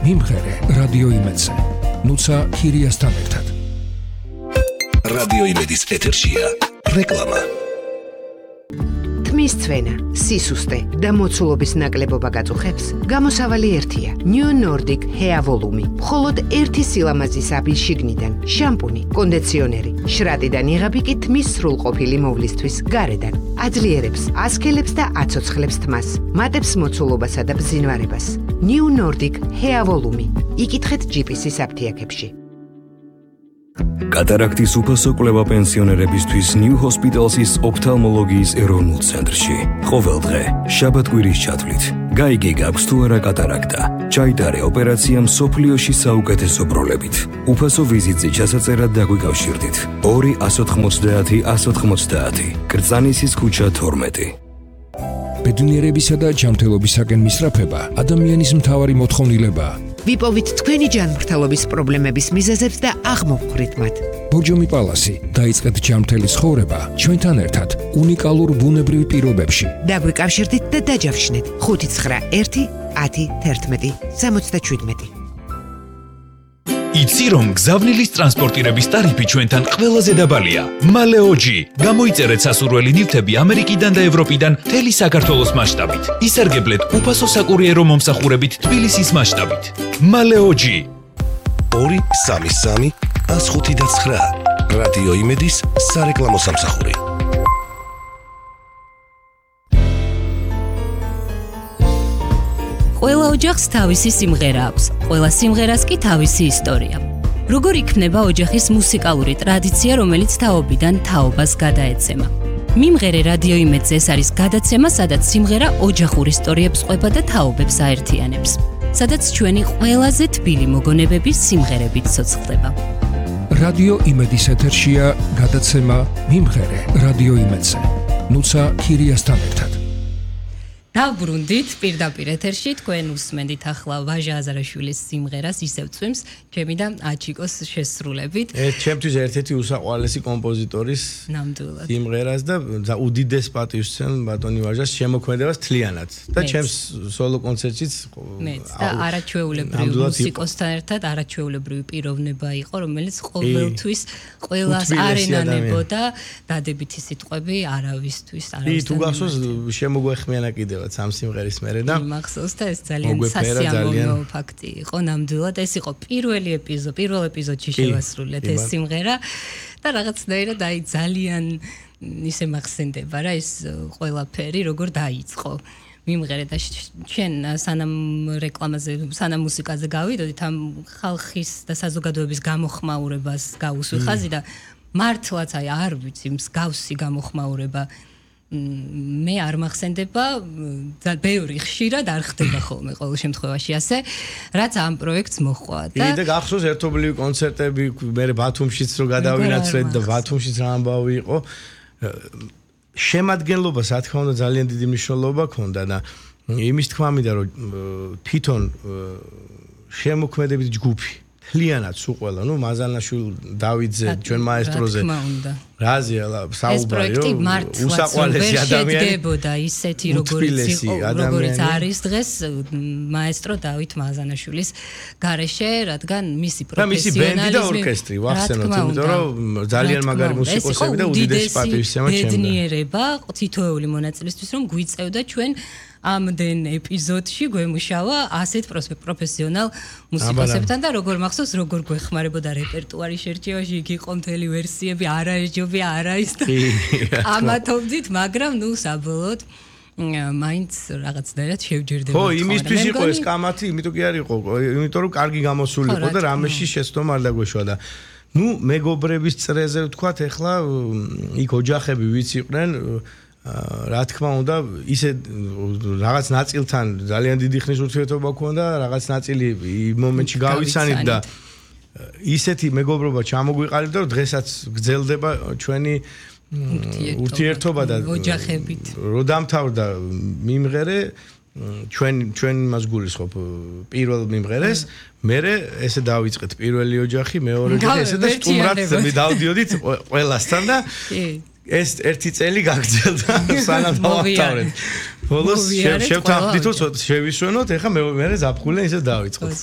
მიმღერე რადიო იმედზე. ნუცა ქირიასთან ერთად. რადიო იმედის ეთერშია რეკლამა. თმის წვენა, სისუსტე და მოცულობის ნაკლებობა გაწუხებს, გამოსავალი ერთია. New Nordic Hair Volume. მხოლოდ ერთი სილამაზის აბი შიგნიდან, შამპუნი, კონდიციონერი, შრატიდან იღები კი თმის სრულყოფილი მოვლისთვის გარედან. აძლიერებს, ასქელებს და აცოცხლებს თმას, მატებს მოცულობასა და ბზინვარებას. New Nordic Hair Volume. იკითხეთ GPS-ის აფთიაქებში. კატარაქტის უფასო კვლევა პენსიონერებისთვის New Hospital's ოფთალმოლოგიის ეროვნულ ცენტრში. ყოველ დღე, შაბათ-კვირის ჩათვლით. გაიგე გაქვს თუ არა კატარაქტა. ჩაიტარე ოპერაცია მსოფლიოში საუკეთესო პროლებით. უფასო ვიზიტზე ჩასაწერად დაგვიკავშირდით. 2-190-190. კრწანისის ქუჩა 12. ბედნიერებისა და ჯანმრთელობისაკენ მისწრაფება ადამიანის მთავარი მოთხოვნილებაა. ვიპოვით თქვენი ჯანმრთელობის პრობლემების მიზეზებს და აღმოვხვრით მათ. ბორჯომი პალასი, დაიწყეთ ჯანმრთელი ცხოვრება ჩვენთან ერთად უნიკალურ ბუნებრივ პირობებში. დაგვიკავშირდით და დაჯავშნეთ 591 10 11 77. იცი რომ გზავნილის ტრანსპორტირების ტარიფი ჩვენთან ყველაზე დაბალია. მალეოჯი. გამოიწერეთ სასურველი ნივთები ამერიკიდან და ევროპიდან მთელი საქართველოს მასშტაბით. ისარგებლეთ უფასო საკურიერო მომსახურებით თბილისის მასშტაბით. მალეოჯი. 233 105 რადიო იმედის სარეკლამო სამსახური. ყველა ოჯახს თავისი სიმღერა აქვს, ყველა სიმღერას კი თავისი ისტორია. როგორ იქმნება ოჯახის მუსიკალური ტრადიცია, რომელიც თაობიდან თაობას გადაეცემა? მიმღერე რადიო იმედზე ეს არის გადაცემა, სადაც სიმღერა ოჯახურ ისტორიებს ყვება და თაობებს აერთიანებს. სადაც ჩვენი ყველაზე თბილი მოგონებები სიმღერებით ცოცხლდება. რადიო იმედის ეთერშია გადაცემა მიმღერე რადიო იმედზე. ნუცა ქირიასთან ერთად. დავბრუნდით პირდაპირ ეთერში, თქვენ უსმენთ ახლა ვაჟა აზარაშვილის სიმღერას ისევ წვიმს, ჩემი და აჩიკოს შესრულებით. ჩემთვის ერთ-ერთი უსაყვარლესი კომპოზიტორის ნამდვილად სიმღერას და უდიდეს პატივსცემ ბატონი ვაჟას შემოქმედებას თლიანად. და ჩემს სოლო კონცერტშიც მეც და არაჩვეულებრივი მუსიკოსთან ერთად არაჩვეულებრივი პიროვნება იყო, რომელიც ყოველთვის ყველას არენანებოდა დადებითი სიტყვები არავისთვის, არავის. თუ გახსოვს შემოგვეხმიანა კიდევ სამ სიმღერის მერე და მახსოვს და ეს ძალიან სასიამოვნო ფაქტი იყო ნამდვილად. ეს იყო პირველ ეპიზოდში შევასრულეთ ეს სიმღერა და რაღაცნაირად ძალიან ისე მახსენდება რა ეს ყველაფერი როგორ დაიწყო. მიმღერე და ჩვენ სანამ რეკლამაზე, სანამ მუსიკაზე გავიდოდით ამ ხალხის და საზოგადოების გამოხმაურებას გავუსვი ხაზი და მართლაც არ ვიცი მსგავსი გამოხმაურება მე არ მახსენდება და ბევრი ხშირად არ ხდება ხოლმე ყოველ შემთხვევაში ასე რაც ამ პროექტს მოჰყვა და გახსოვს ერთობლივი კონცერტები მე ბათუმშიც რო გადავინაცვლეთ და ბათუმშიც რა ამბავი იყო შემადგენლობა რა თქმა უნდა ძალიან დიდი მნიშვნელობა ჰქონდა და იმის თქმა მინდა რომ თვითონ შემოქმედებით ჯგუფი თლიანად სულ ყველა, მაზანაშვილი, დავიდზე, ჩვენ მაესტროზე. რაზია, საუბარი, უსაყვარლესი ადამიანი. შედგებოდა ისეთი როგორც არის დღეს მაესტრო დავით მაზანაშვილის გარეშე, რადგან მისი პროფესიონალიზმი და მისი ბენდი და ორკესტრი, ვახსენოთ, იმიტომ რომ ძალიან მაგარი მუსიკოსები და უდიდესი პატივისცემა ჩემდა. ბედნიერება თითოეული მონაწილისთვის რომ გვიწევდა ჩვენ ამდენ ეპიზოდში გვემუშავა ასეთ პროფესიონალ მუსიკოსებთან და როგორ მახსოვს როგორ გვეხმარებოდა რეპერტუარის შერჩევაში იქ იყო მთელი ვერსიები არაესჯობი არაის და ამათობდით მაგრამ საბოლოოდ მაინც რაღაცნაირად შევჯერდება ხო იმისთვის იყო ეს კამათი იმიტომ კი არ იყო იმიტომ რომ კარგი გამოსული იყო და რამეში შეცდომა არ დაგვეშვა და მეგობრების წრეზე ვთქვათ ეხლა იქ ოჯახები ვიც იყვნენ რა თქმა უნდა ისე რაღაც ნაწილთან ძალიან დიდი ხნის ურთიერთობა ქონდა რაღაც ნაწილი იმ მომენტში გავიცანით და ისეთი მეგობრობა ჩამოგვიყალიბდა რომ დღესაც გრძელდება ჩვენი ურთიერთობა და ოჯახებით რო დამთავრდა მიმღერე ჩვენ მას გულისხმობ პირველ მიმღერეს მერე ესე დავიწყეთ პირველი ოჯახი მეორე ოჯახი ესე და სტუმრად დავდიოდით ყველასთან და ეს ერთი წელი გაგრძელდა სანამ დავთავრეთ. ბოლოს შევთანხმდით რომ შევისვენოთ, ეხლა მე ზაფხულზე ისე დავიწყოთ.